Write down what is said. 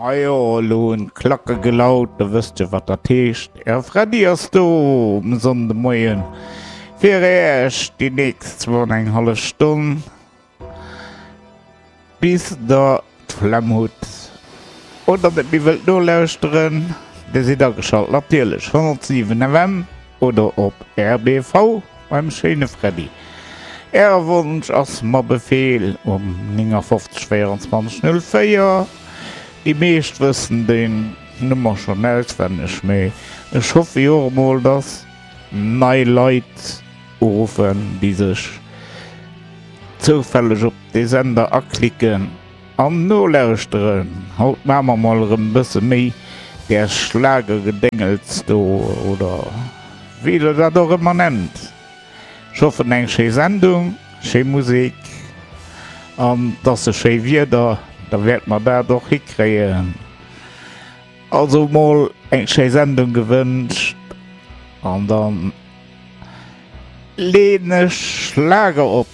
Majo, elo hunn d'Klacke gelaut, da wësst Dir, wat dat heescht. Äre Freddy ass do um Sonndemoien fir Äech déi nächst zwou an eng hallef Stonn, bis Der d'Flemm hutt oder net méi wëllt nolauschteren. Dir sidd ageschalt natierlech 107 FM oder op rbv beim schéine Freddy. Äre Wonsch ass mer Befehl um 59 24 04. Déi meescht wëssen déi Nummer schonn auswenneg, mee ech hoffe jo och emol, dass nei Leit uruffen, déi sech zoufälleg op dee Sender aklicken an nolauschteren. Haut maache mer mol erëm e bësse méi där Schlagergedéngels do, oder wéi der dat och ëmmer nennt. Ech hoffen eng schéi Sendung, schéi Musek an 't ass e schéi Wieder, da wäerte mer dat och hikréien. Also mol eng schéi Sendung gewënscht an dann leen ech Schlager op.